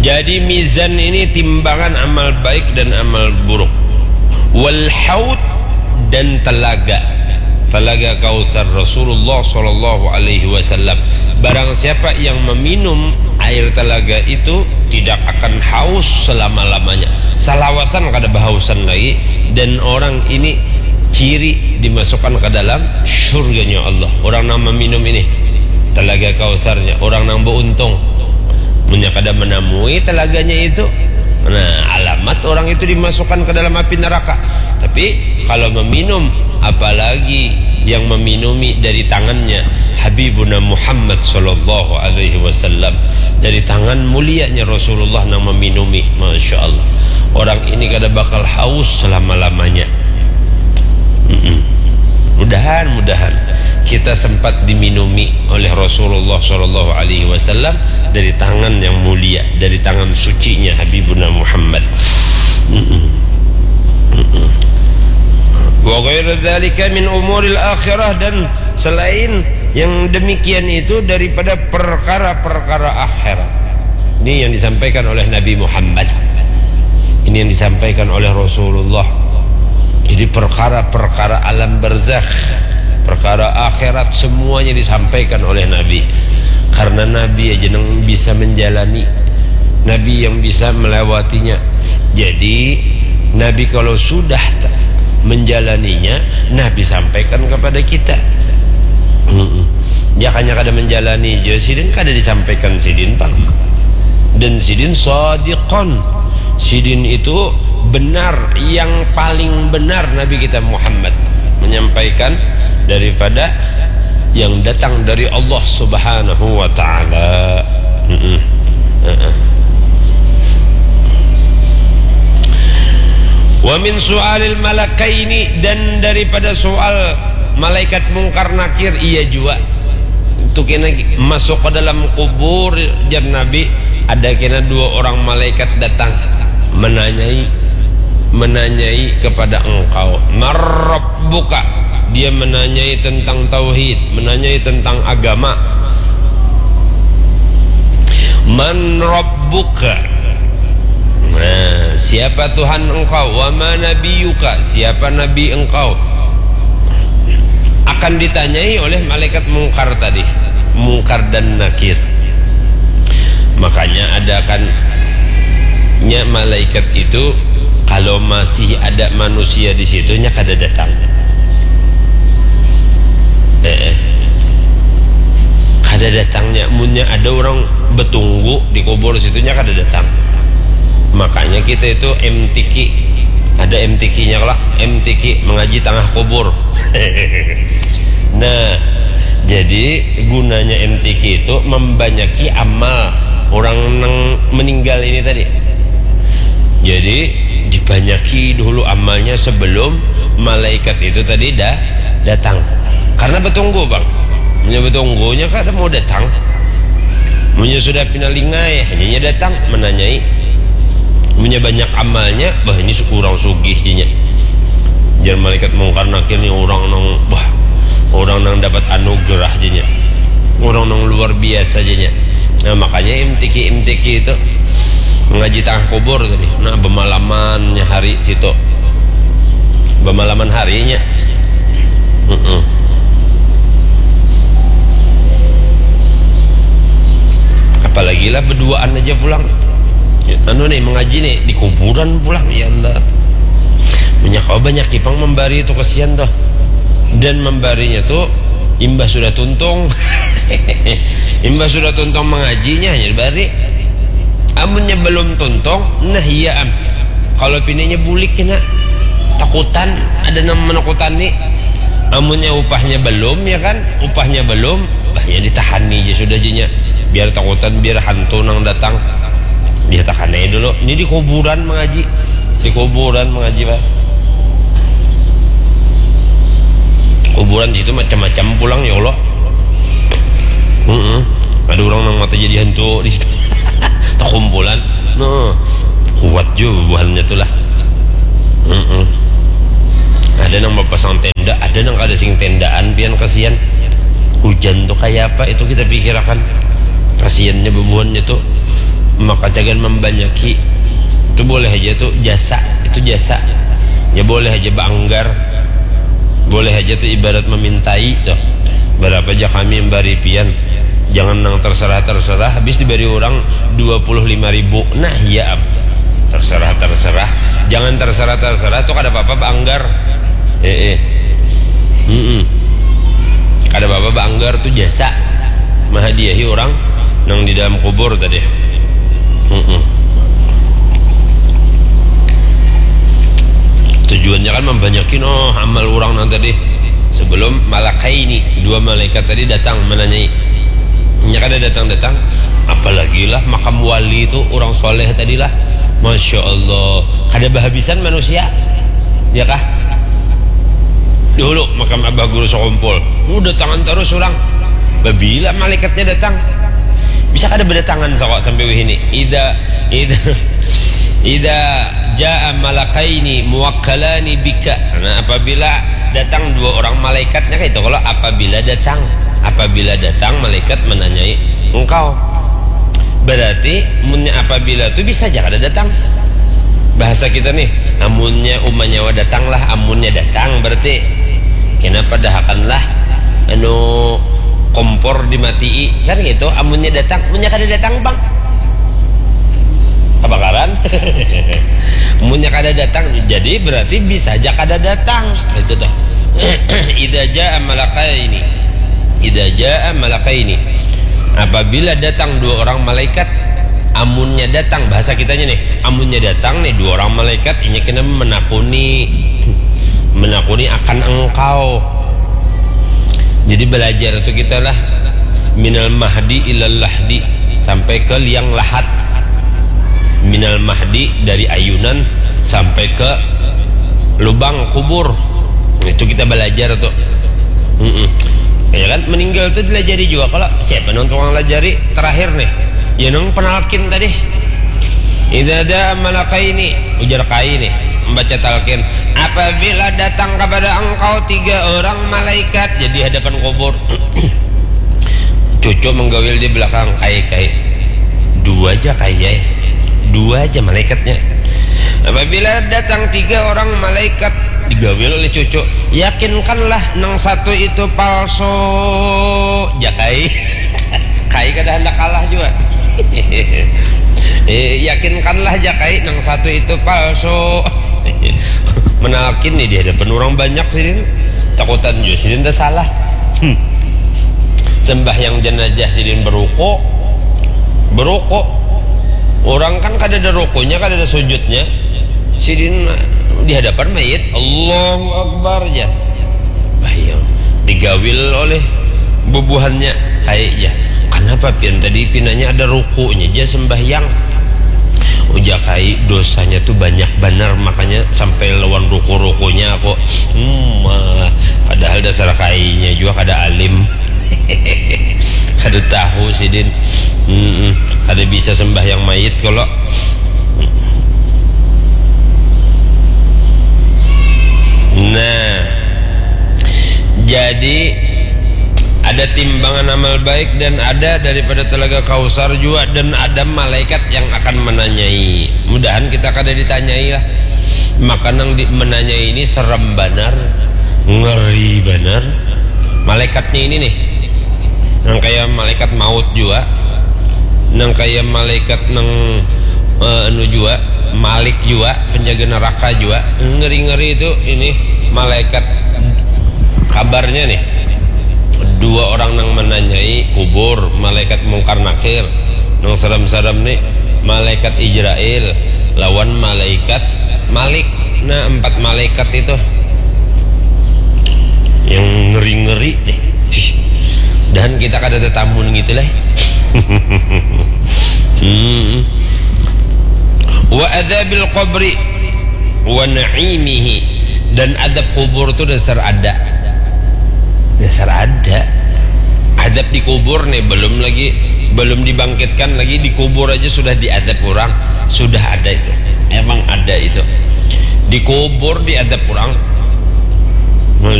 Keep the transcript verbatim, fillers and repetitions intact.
Jadi mizan ini timbangan amal baik dan amal buruk. Wal haud dan telaga. Telaga Kautsar Rasulullah sallallahu alaihi wasallam. Barang siapa yang meminum air telaga itu tidak akan haus selama-lamanya. Salawasan kada bahausan lagi dan orang ini ciri dimasukkan ke dalam surganya Allah. Orang yang meminum ini telaga Kautsarnya, orang yang beruntung. Munnya kada menamui telaganya itu, nah, alamat orang itu dimasukkan ke dalam api neraka. Tapi kalau meminum, apalagi yang meminumi dari tangannya Habibuna Muhammad sallallahu alaihi wasallam, dari tangan mulianya Rasulullah yang meminumi, masya Allah, orang ini kada bakal haus selama-lamanya. Mm-mm. Mudahan, mudahan kita sempat diminumi oleh Rasulullah sallallahu alaihi wasallam dari tangan yang mulia, dari tangan sucinya Habibuna Muhammad. Mm-mm. Mm-mm. Wa ghairu dzalika min umuril akhirah, dan selain yang demikian itu daripada perkara-perkara akhirat. Ini yang disampaikan oleh Nabi Muhammad. Ini yang disampaikan oleh Rasulullah. Jadi perkara-perkara alam barzakh, perkara akhirat, semuanya disampaikan oleh Nabi. Karena Nabi aja yang bisa menjalani, Nabi yang bisa melewatinya. Jadi Nabi kalau sudah menjalaninya, Nabi sampaikan kepada kita. Jakanya kada menjalani, jadi sidin kada disampaikan sidin pang. Dan sidin sadiqon, sidin itu benar, yang paling benar Nabi kita Muhammad menyampaikan daripada yang datang dari Allah Subhanahu wa Ta'ala. Wa min su'alil malakaini, dan daripada soal malaikat Mungkar Nakir, iya jua. Itu kena masuk ke dalam kubur, jar Nabi, ada kena dua orang malaikat datang menanyai, menanyai kepada engkau, "Man rabbuka?" Dia menanyai tentang tauhid, menanyai tentang agama. "Man rabbuka?" Nah, siapa Tuhan engkau? "Wa ma nabiyuka?" Siapa nabi engkau? Akan ditanyai oleh malaikat Mungkar tadi, Mungkar dan Nakir. Makanya ada kan nya malaikat itu, kalau masih ada manusia di situ, nya kada datang. Eh, eh. Kada datangnya, munnya ada orang betunggu di kubur situnya kada datang. Makanya kita itu M T Q, ada M T Q-nya lah, M T Q, mengaji tengah kubur. Nah, jadi gunanya M T Q itu membanyaki amal orang nang meninggal ini tadi. Jadi dibanyaki dulu amalnya sebelum malaikat itu tadi dah datang. Karena betunggu, bang, punya betunggunya kada mau datang. Munnya sudah pina lingai, hanyanya datang menanyai. Munnya banyak amalnya, bah, ini su-, urang sugih, janya. Jar malaikat Mungkar Nakir ni urang nang, bah, urang nang dapat anugerah, janya. Urang nang luar biasa, janya. Nah, makanya M T Q, M T Q itu mengaji tengah kubur tadi. Nah, bemalamannya hari situ. Bemalaman harinya. Mm-mm. Apalagi lah beduaan aja pulang. Ya, anu nih, mengaji nih di kuburan pulang, ya Allah. Banyak, oh, banyak kipang membari itu, kesian tuh. Dan membarinya tuh imbah sudah tuntung. Imbah sudah tuntung mengajinya hanya bari. Amunnya belum tuntung, nah iya am. Kalau pininya bulik kena takutan, ada nang menakutani. Amunnya upahnya belum, ya kan? Upahnya belum, bahnya ditahani aja sudah, jinya. Biar takutan, biar hantu nang datang. Dia takanai dulu. Ini di kuburan mengaji. Di kuburan mengaji, Pak. Kuburan di situ macam-macam pulang, ya Allah. Mm-mm. Ada orang nang mata jadi hantu di situ. Takumpulan. Nah, kuat juga bubuhannya tuh lah. Mm-mm. Ada nang bapasang tenda, ada nang kada sing tendaan, pian kasihan. Hujan tuh kayak apa itu kita pikirakan. Kasihannya bubuhannya tuh. Maka jangan membanyaki. Itu boleh aja tuh jasa, itu jasa. Ya boleh aja baanggar. Boleh aja tuh ibarat memintai tuh. Berapa aja kami memberi pian. Jangan nang terserah-terserah, habis diberi orang dua puluh lima ribu. Nah, iya, Am. Terserah-terserah. Jangan terserah-terserah tuh kada apa-apa baanggar. Eh, eh. Mm-mm. Kada apa-apa baanggar tuh jasa. Mahadiahi orang nang di dalam kubur tadi. Mm-mm. Tujuannya kan membanyakin, oh, amal orang nang tadi. Sebelum malakaini, dua malaikat tadi datang menanyai. Nya kada datang-datang, apalagi lah makam wali tu, orang soleh tadi lah. Masya Allah, kada bahabisan manusia, ya kah? Dulu makam Abah Guru Sokompol, uh, datangan terus orang. Babila malaikatnya datang? Bisa kada berdatangan, sokok sampai wihini. Ida, ida, ida jaa malakaini muwakkalani bika. Nah, apabila datang dua orang malaikatnya kayak itu, kalau apabila datang, apabila datang malaikat menanyai engkau, berarti munnya apabila tu bisa aja kada datang. Bahasa kita nih, amunnya uma nyawa datang lah, amunnya datang berarti kena padahakan lah, anu, kompor dimatii, kan gitu. Amunnya datang, munnya kada datang, bang, kebakaran. Munnya kada datang, jadi berarti bisa aja kada datang. Itu tuh. Ida jaa malakaini. Ida jaa malakaini. Apabila datang dua orang malaikat, amunnya datang, bahasa kitanya nih, amunnya datang nih dua orang malaikat, inya kena menakuni, menakuni akan engkau. Jadi belajar itu kita lah, minal mahdi ilal lahdi, sampai ke liang lahat. Minal mahdi, dari ayunan sampai ke lubang kubur. Itu kita belajar tuh. Mm-mm. Ya kan, meninggal tuh dilajari juga. Kalau siapa nang tukang lajari terakhir nih? Ya, nang penalkin tadi. Ida jaa malakaini, ujar kai nih, membaca talqin. Apabila datang kepada engkau tiga orang malaikat, jadi hadapan kubur. Cucu menggawil di belakang, kai, kai. Dua aja, kai, ya. Dua aja malaikatnya. Apabila datang tiga orang malaikat, digawil oleh cucu, yakinkanlah nang satu itu palsu. Jakai. Kai kada hendak kalah juga. Eh, yakinkanlah, Jakai, nang satu itu palsu. Menalkin nih di hadapan orang banyak sidin. Takutan juga sidin tersalah. Hmm. Sembahyang jenazah sidin beruku. Beruku. Orang kan kada ada rukunya, kada ada sujudnya. Sidin di hadapan mayit, Allahu Akbar aja. Bayang, digawil oleh bubuhannya, kayaknya. Kenapa pian tadi pinanya ada rukunya aja sembahyang? Ujar kai, dosanya tuh banyak banar, makanya sampai lawan ruku-rukunya aku. Hmm, ah, padahal dasar kainya juga kada alim. Kada tahu sidin. Mm-mm. Kada bisa sembahyang mayit kalau. Nah, jadi ada timbangan amal baik dan ada daripada telaga Kausar juga, dan ada malaikat yang akan menanyai. Mudahan kita kada ditanyai lah. Maka nang di, menanyai ini serem banar, ngeri banar. Malaikatnya ini nih, nang kaya malaikat maut jua, nang kaya malaikat nang, eh, anu jua, Malik jua, penjaga neraka jua. Ngeri-ngeri itu ini malaikat. Kabarnya nih, dua orang nang menanyai kubur, malaikat Mungkar Nakir. Nang serem-serem nih, malaikat Ijrail lawan malaikat Malik. Nah, empat malaikat itu yang ngeri-ngeri nih. Dan kita kada tetamun gitu lah. Hmm. Wa adzabil qabri wa na'imihi. Dan adab kubur tuh dasar ada. Dasar ada. Adab di kubur nih, belum lagi, belum dibangkitkan lagi, di kubur aja sudah diadab orang. Sudah ada itu. Emang ada itu. Di kubur diadab orang. Masya